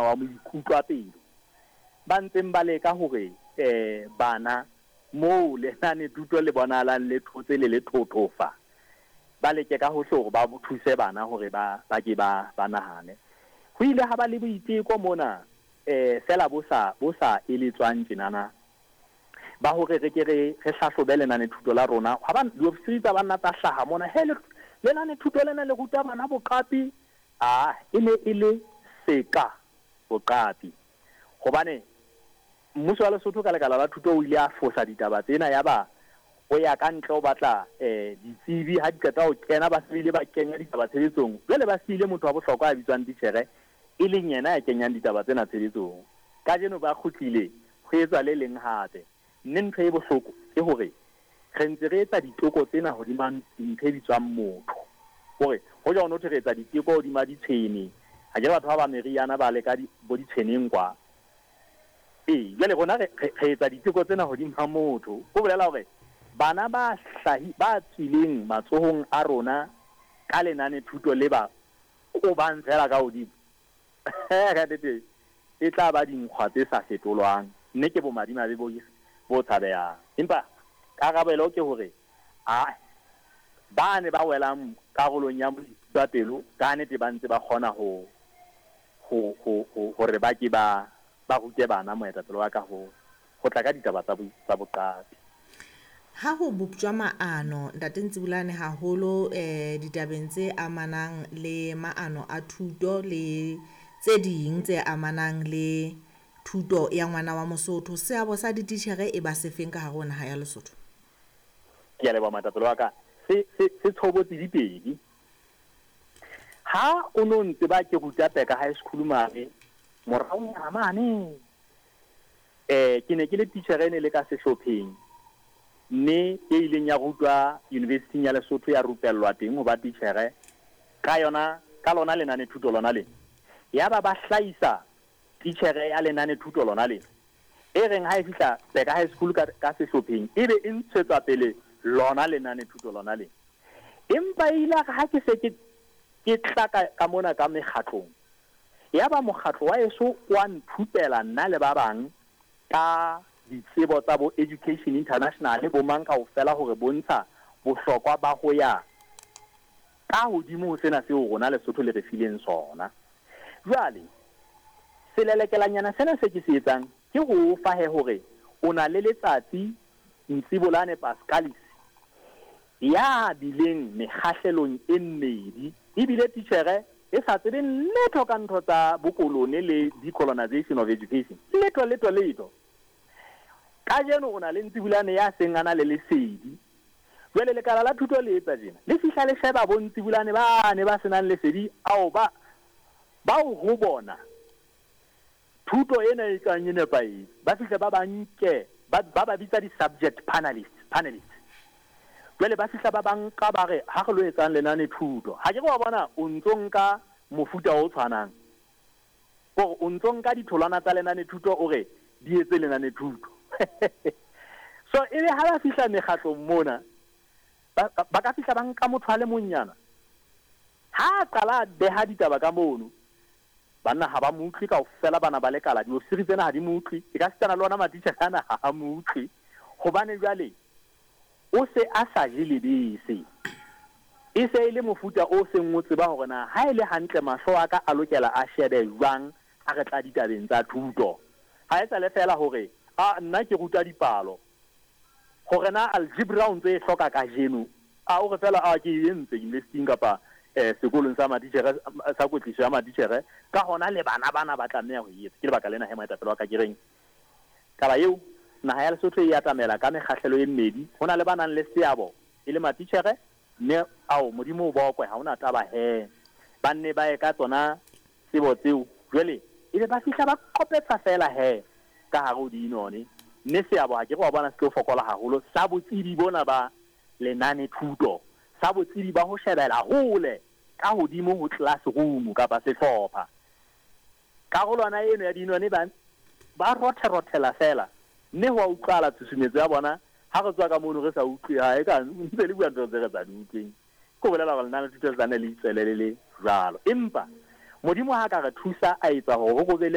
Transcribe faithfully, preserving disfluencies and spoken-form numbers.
wa moikutlwapelo ba ntseng ba leka hore eh bana moo lenanethuto le bonahalang le thotse le le thothofa, ba leke ka hohle hore ba thuse bana hore ba ba ke ba ba nahane. Ho ile ha ba le boiteko mona eh fela bo sa bo sa eletswang tjenana ba hore re ke re re hlahlobe lenanethuto la rona. Ha ba diofisiri tsa banna tsa hlaha mona, he lenanethuto lena le ruta bana boqapi. Ah, e ne e le seka boqapi, hobane mmuso wa Lesotho ka lekala la thuto o ile a fosa ditaba tsena, ya ba o ya ka ntle o batla eh ditsebi. Ha di qeta ho kena, ba se ile ba kenya ditaba tshebetsong. Jwale ba siile motho wa bohlokwa ya bitswang titjhere, e leng yena ya kenyang ditaba tsena tshebetsong. Kajeno ba kgutlile ho etswa le leng hape. Mme ntho e bohloko ke hore re ntse re etsa diteko tsena hodima ntho e bitswang motho. Hore hoja o no thwe re etsa diteko hodima ditshwene, ha ke batho ba ba meriana ba leka bo ditshweneng kwa. Ee, jwale rona re re etsa diteko tsena hodima motho. Ho bolela hore bana ba hlahi ba tswileng matsohong a rona ka lenanethuto le ba kobang fela ka hodimo, ka nnete e tla ba dinkgwa tse sa fetolwang, mme ke bomadimabe bo bo tshabehang. Empa karabelo ke hore a ba ne ba welang karolong ya moikutlwapelo ka nnete ba ntse ba kgona ho ho ho hore ba ke ba ba rute bana moetapele wa ka ho ho tla ka ditaba tsa tsa boqapi. Ha ho boptjwa maano, Ntate Ntsibulane, haholo eh ditabeng tse amanang le maano a thuto le tse ding tse amanang le thuto ya ngwana wa Mosotho, seabo sa dititjhere e ba sefeng ka hare ho naha ya Lesotho? Ke a leboha moetapele wa ka. Se se se tshobotsi di pedi. Ha o no ntse ba ke ruta Peka High School mane moraonyana mane, eh ke ne ke le titjhere e ne le ka sehlopheng, mme e ileng ya rutwa University ya Lesotho, ya rupellwa teng ho ba titjhere ka yona ka lona lenanethuto lona lena. Ya ba ba hlahisa titjhere ya lenanethuto lona lena, e reng ha e fihla Peka High School ka ka sehlopheng, ebe e ntshetswa pele lona lenanethuto lona lena. Empa e ile ya re ha ke se ke ke tla ka ka mona ka mekgatlong, ya ba mokgatlo wa eso wa nthupela nna le ba bang ka ditsebo tsa bo Education International bo mang kaofela hore bontsha bohlokwa ba ho ya ka hodimo ho sena seo rona Lesotho le re fileng sona. Jwale selelekelanyana sena se ke se etsang ke ho o fa he hore o na le letsatsi Ntsibolane Pascalis ya bileng mekgahlelong e mmedi, ebile titjhere e sa tsebeng letho ka ntho tsa bokolone le decolonization of education, letho letho letho. Kajeno o na le Ntsibulane ya seng a na le lesedi. Jwale lekala la thuto le etsa tjena, le fihla le sheba bo Ntsibulane ba ne ba senang lesedi ao ba bao ho bona thuto ena e kang e nepahetse, ba fihle ba ba nke ba ba ba bitsa di-subject panelists panelists. Jwale ba fihla ba ba nka ba re ha re lo etsang lenane thuto. Ha ke re wa bona o ntso nka mofuta o tshwanang, hore o ntso nka ditholwana tsa lenane thuto o re di etse lenane thuto. So ebe ha ba fihla mekgatlong mona, ba ba ka fihla ba nka motho a le monyana, ha a qala a beha ditaba ka mono, banna ha ba mo utlwe kaofela, bana ba lekala diofisiri tsena ha di mo utlwe, e ka sitana le ona matitjhere ana ha a mo utlwe, hobane jwale o se a sa je lebese. E se e le mofuta o seng o tseba hore na ha e le hantle mahlo a ka a lokela a shebe jwang ha re tla ditabeng tsa thuto. Ha e sa le fela hore a nna ke ruta dipalo, hore na algebra o ntse e hloka kajeno, a o re fela a ke e entse university kapa eh sekolong sa matitjhere sa kwetliso ya matitjhere, ka hona le bana bana ba tlameha ho e etsa. Ke lebaka lena he moetapele wa ka ke reng taba eo naha ya Lesotho e atamela ka mekgahlelo e mmedi. Ho na le ba nang le seabo e le matitjhere, mme ao Modimo o bokwe ha hona taba he ba nne ba ye ka tsona tsebo tseo, jwale ebe ba fihla ba qopetsa fela he ka hare ho dinone. Mme seabo ha ke re wa bona se tlo fokola haholo sa botsebi bona ba lenane thuto, sa botsebi ba ho shebela hole ka hodimo ho classroom kapa sehlopha. Karolwana eno ya dinone ba ba rotherothela fela, mme ho a utlwahala tshusumetso ya bona. Ha re tswa ka mono re sa utlwe, ha e ka ntse le bua ntho tse re sa di utlweng, ke ho bolela hore lenane thuto le tla nne le itswele le le jwalo. Empa Modimo ha ka re thusa a etsa hore ho be le